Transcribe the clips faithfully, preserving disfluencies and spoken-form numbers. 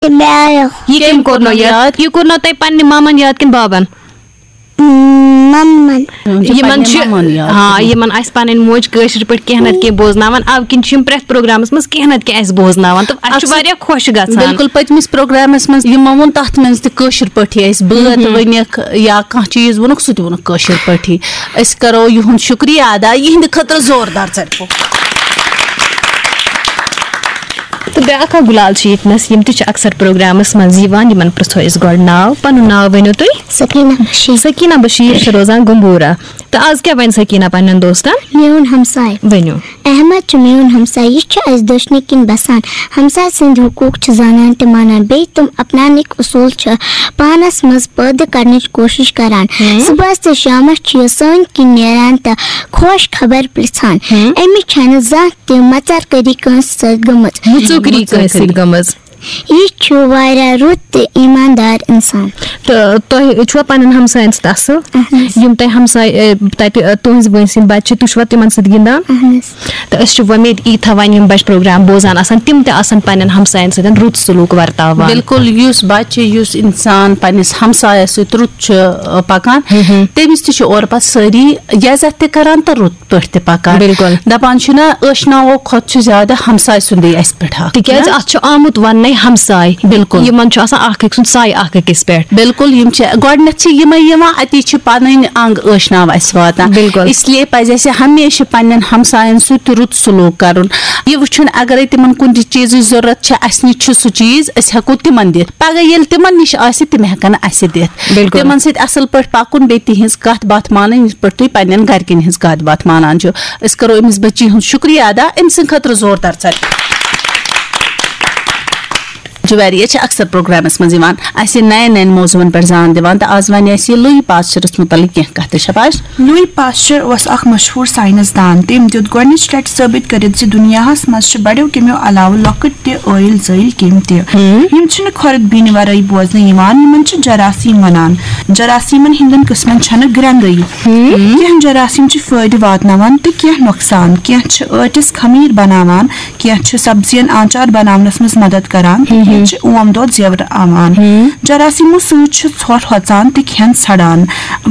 تہٕ مےٚ آیو۔ یہِ کٔمۍ کوٚر نو یاد؟ یہِ کوٚر نو تۄہہِ پننہِ مامن یاد کِنہٕ بابن؟ مَمَن۔ یِمن چھِ، ہاں، یِمن آسہِ پنٕنۍ موج کٲشِر پٲٹھۍ کینٛہہ نتہٕ کینٛہہ بوزناوان، اَوٕ کِنۍ چھِ یِم پرٛٮ۪تھ پروگرامس منٛز کینٛہہ نتہٕ کینٛہہ اَسہِ بوزناوان تہٕ اَسہِ چھُ اکثر واریاہ خۄش گژھان۔ بِلکُل، پٔتمِس پروگرامس منٛز یِمو ووٚن، تتھ منٛز تہِ کٲشِر پٲٹھی اَسہِ بٲتھ ؤنِکھ یا کانٛہہ چیٖز ووٚنُکھ، سُہ تہِ ووٚنُکھ کٲشِر پٲٹھی۔ أسۍ کرو یِہُنٛد شُکریہ ادا، یِہنٛدِ خٲطرٕ زوردار ژَٹہِ۔ تہٕ بیٛاکھ اکھ گُلال چھِ ییٚتنَس، یِم تہِ چھِ اکثر پروگرامَس منٛز یِوان، یِمَن پرٛژھو أسۍ گۄڈٕ ناو۔ پَنُن ناو ؤنِو تُہۍ؟ سکیٖنہ بشیٖر۔ سکیٖنہ بشیٖر چھِ روزان گمبورہ۔ تہٕ آز کیٛاہ وَنہِ سکیٖنہ پنٛنٮ۪ن دوستَن؟ میون ہمساے۔ ؤنِو۔ احمد چھُ میون ہمساے، یہِ چھُ اَسہِ دٔچھنہِ کِنۍ بسان۔ ہمساے سٕنٛدۍ حقوٗق چھِ زانان تہٕ مانان، بیٚیہِ تِم اپناونٕکۍ اصوٗل چھِ پانَس منٛز پٲدٕ کرنٕچ کوٗشِش کران۔ ہم۔ صُبحَس تہٕ شامَس چھُ یہِ سٲنۍ کِنۍ نیران تہٕ خۄش خبر پرٛژھان۔ ہم۔ أمِس چھَنہٕ زانٛہہ تہِ مَژَر کٔری کٲنٛسہِ سۭتۍ گٔمٕژ۔ مُژُکری کٲنٛسہِ سۭتۍ گٔمٕژ۔ یہِ چھُ واریاہ رُت تہٕ ایٖماندار اِنسان۔ تہٕ تۄہہِ چھُوا پنٕنٮ۪ن ہمساین سۭتۍ اصٕل؟ اہن حظ۔ یِم تۄہہِ ہمساے، اے، تَتہِ، اے، تُہٕنٛزِ وٲنٛسہِ ہٕنٛدۍ بچہِ چھِ، تُہۍ چھُوا تِمن سۭتۍ گِنٛدان؟ اہن حظ۔ تہٕ أسۍ چھِ وۄمید، یی تھاوان یِم بچہِ پروگرام بوزان آسان، تِم تہِ آسن پنٕنٮ۪ن ہمساین سۭتۍ رُت سلوٗک ورتاوان۔ بِلکُل، یُس بچہِ، یُس اِنسان پننِس ہمسایس سۭتۍ رُت چھُ، اے، پکان، ہم ہم۔ تٔمِس تہِ چھِ اورٕ پتہٕ سٲری عزت تہِ کران تہٕ رُت پٲٹھۍ تہِ پکان۔ بِلکُل۔ دپان چھِنہ، ٲشناوو کھۄتہٕ چھُ زیادٕ ہمساے سُنٛدٕے اَسہِ پٮ۪ٹھ حق، تِکیٛازِ نہ؟ اَتھ چھُ آمُت وننَے ہمساے۔ بِلکُل۔ یِمن چھُ آسان اکھ أکۍ سُنٛد سایہِ اکھ أکِس پٮ۪ٹھ۔ بِلکُل، یِم چھِ گۄڈٕنٮ۪تھ چھِ یِمے یِوان، اَتی چھِ پنٕنۍ انٛگ ٲشناو اَسہِ واتان۔ بِلکُل۔ اس لیے پزِ اَسہِ ہمیشہِ پننٮ۪ن ہمساین سۭتۍ تہِ رُت سلوک کرُن، یہِ وٕچھُن اگرے تِمن کُنہِ تہِ چیٖزٕچ ضروٗرت چھِ، اَسہِ نِش چھُ سُہ چیٖز، أسۍ ہٮ۪کو تِمن دِتھ۔ پگاہ ییٚلہِ تِمن نِش آسہِ، تِم ہٮ۪کن اَسہِ دِتھ۔ بِلکُل۔ تِمن سۭتۍ اصل پٲٹھۍ پکُن، بیٚیہِ تِہنٛز کتھ باتھ مانٕنۍ، یِتھ پٲٹھۍ تُہۍ پننٮ۪ن گرِکٮ۪ن ہٕنٛز کتھ باتھ مانان چھِو۔ أسۍ کرو أمِس بچی ہُنٛد شُکریہ ادا، أمۍ سٕنٛدِ خٲطرٕ زوردار ژٹہِ۔ جویریہ چھِ اکثر پروگرامس منٛز یِوان، اسہِ نین نین موضوعن پٮ۪ٹھ زان دِوان، تہٕ آز ونہِ اسہِ یہِ لوئی پاسچرس متعلق کینٛہہ کتھٕ۔ شاباش۔ لوئی پاسچر اوس اکھ مشہوٗر ساینس دان۔ تٔمۍ دیُت گۄڈٕنِچ لٹہِ ثٲبت کٔرِتھ زِ دُنیاہس منٛز چھِ بڑیو کیٚمیو علاوٕ لۄکٕٹۍ تہِ ٲیِل زٲیِل کیٚمۍ تہِ۔ ہم۔ یِم چھِنہٕ کھۄرٕد بیٖنہِ ورٲے بوزنہٕ یِوان، یِمن چھِ جراثیم ونان۔ جراثیمن ہٕنٛدٮ۪ن قٕسمن چھنہٕ گرٛنٛدٲیی۔ ہم۔ کینٛہہ جراثیم چھِ فٲیدٕ واتناوان تہٕ کینٛہہ نۄقصان۔ کینٛہہ چھِ ٲٹِس خمیٖر بناوان، کینٛہہ چھِ سبزین آنچار بناونس منٛز مدد کران، تہٕ کینٛہہ چھِ اوم دۄد زیورٕ آوان۔ جراثیمو سۭتۍ چھِ ژھۄٹھ ہۄژان تہٕ کھٮ۪ن سڑان۔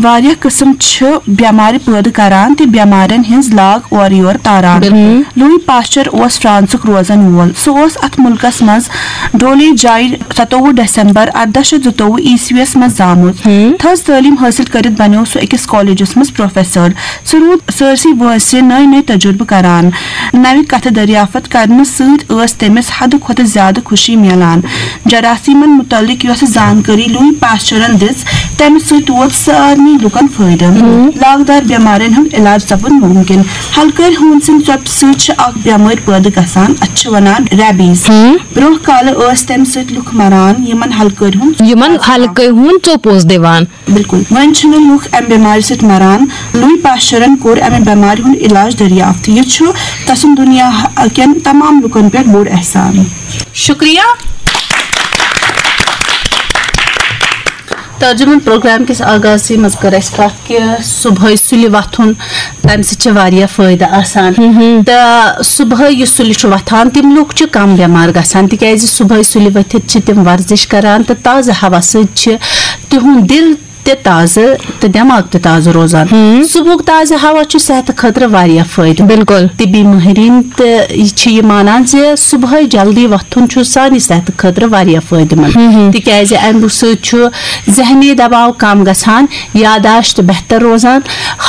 واریاہ قٕسم چھِ بٮ۪مارِ پٲدٕ کران تہٕ بٮ۪مارٮ۪ن ہٕنٛز لاگ اورٕ یور تاران۔ بِلکُل۔ لوئی پاسچر اوس فرانسُک روزن وول۔ سُہ اوس اتھ مُلکس منٛز ڈولے جاے ستووُہ دسمبر ارداہ شیٚتھ زٕتووُہ عیسویس منٛز زامُت۔ تھٔز تعلیٖم حٲصِل کٔرِتھ بنیوو سُہ أکِس کالجس منٛز پروفیسر۔ سُہ روٗد سٲرسٕے وٲنٛسہِ نٔوۍ نٔوۍ تجربہٕ کران۔ نوِ کتھٕ دریافت کرنہٕ سۭتۍ ٲس تٔمِس حدٕ کھۄتہٕ زیادٕ خوشی میلان۔ جراثیمن متعلق یۄس زانکٲری لوئی پاسچرن دِژ، تمہِ سۭتۍ ووت سارنٕے لوٗکن فٲیدٕ۔ لاگدار بٮ۪مارٮ۪ن ہُنٛد علاج سپُد مُمکِن۔ ہلکٲرۍ ہوٗن سٕنٛدِ ژۄپہِ سۭتۍ چھِ اکھ بٮ۪مٲرۍ پٲدٕ گژھان، اتھ چھِ ونان ریبیز۔ برونٛہہ کالہٕ ٲسۍ تمہِ سۭتۍ لُکھ مران، یِمن ہلکٲرۍ ہُنٛد یِمن ہلکٲرۍ ہُنٛد ژوٚپ اوس دِوان۔ بِلکُل۔ وۄنۍ چھِنہٕ لُکھ اَمہِ بٮ۪مارِ سۭتۍ مران۔ لوئی پاسچرن کوٚر اَمہِ بٮ۪مارِ ہُنٛد علاج دٔریافت۔ یہِ چھُ تسُنٛد دُنیا کٮ۪ن تمام لُکن پٮ۪ٹھ بوٚڑ احسان۔ شُکریہ۔ ترجمن پروگرام کِس آغازسٕے منٛز کٔر اَسہِ کَتھ کہِ صُبحٲے سُلہِ وۄتھُن، تَمہِ سۭتۍ چھِ واریاہ فٲیدٕ آسان۔ تہٕ صُبحٲے یُس سُلہِ چھُ وۄتھان، تِم لُکھ چھِ کم بٮ۪مار گژھان، تِکیازِ صُبحٲے سُلہِ ؤتھِتھ چھِ تِم ورزش کران تہٕ تازٕ ہوا سۭتۍ چھِ تِہُنٛد دِل تہِ تازٕ تہٕ دٮ۪ماغ تہِ تازٕ روزان۔ صُبحُک تازٕ ہوا چھُ صحتہٕ خٲطرٕ واریاہ فٲیدٕ۔ بِلکُل۔ طبی مٲہریٖن تہِ چھِ یہِ مانان زِ صُبحٲے جلدی وۄتھُن چھُ سانہِ صحتہٕ خٲطرٕ واریاہ فٲیدٕ مند، تِکیازِ اَمہِ سۭتۍ چھُ ذہنی دباو کم گژھان، یاداشت بہتر روزان،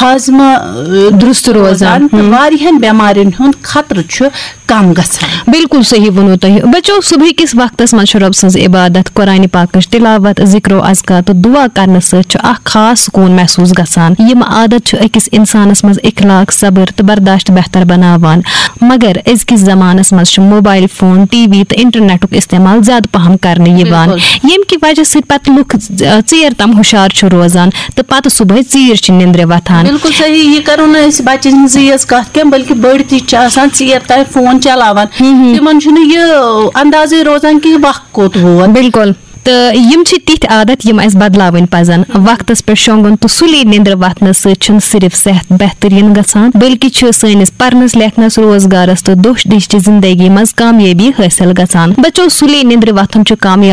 ہاضمہٕ، اۭں، درست روزان۔ تہٕ واریاہن بٮ۪مارٮ۪ن ہُنٛد خطرٕ چھُ کم گژھان۔ بِلکُل صحیح ووٚنوٕ تۄہہِ۔ بچو، صُبحٕکِس وقتس منٛز چھُ رۄب سٕنٛز عبادت، قرآنِ پاکٕچ تِلاوت، ذِکر و اذکار تہٕ دُعا کرنہٕ سۭتۍ چھُ اکھ خاص سکوٗن محسوٗس گژھان۔ یِم عادت چھِ أکِس اِنسانس منٛز اخلاق، صبر تہٕ برداشت بہتر بناوان۔ مگر أزکِس زمانس منٛز چھُ موبایل فون، ٹی وی تہٕ انٹرنیٹُک استعمال زیادٕ پہم کرنہٕ یِوان، بِلکُل۔ ییٚمہِ کہِ وجہ سۭتۍ پتہٕ لُکھ ژ-، ژیر تام ہُشار چھِ روزان تہٕ پتہٕ صُبحٲے ژیٖرۍ چھِ نِندرِ وۄتھان۔ بِلکُل صحیح، یہِ کرو نہٕ أسۍ بچن ہٕنٛزٕے یٲژ کتھ کینٛہہ، بلکہِ بٔڑۍ تہِ چھِ آسان ژیر تام فون چلاوان۔ تِمن چھُنہٕ یہِ اندازٕے روزان کہِ وق کوٚت ووت۔ بِلکُل۔ تہٕ یِم چھِ تِتھۍ عادت یِم اَسہِ بدلاوٕنۍ پزن۔ وقتس پٮ۪ٹھ شۄنٛگُن تہٕ سُلے نیٚنٛدرِ وۄتھنہٕ سۭتۍ چھُنہٕ صرف صحت بہتریٖن گژھان، بلکہِ چھُ سٲنِس پرنس، لیکھنس، روزگارس تہٕ دۄہ دِش چہِ زندگی منٛز کامیٲبی حٲصِل گژھان۔ بچو، سُلے نیٚنٛدرِ وۄتھُن چھُ کامیاب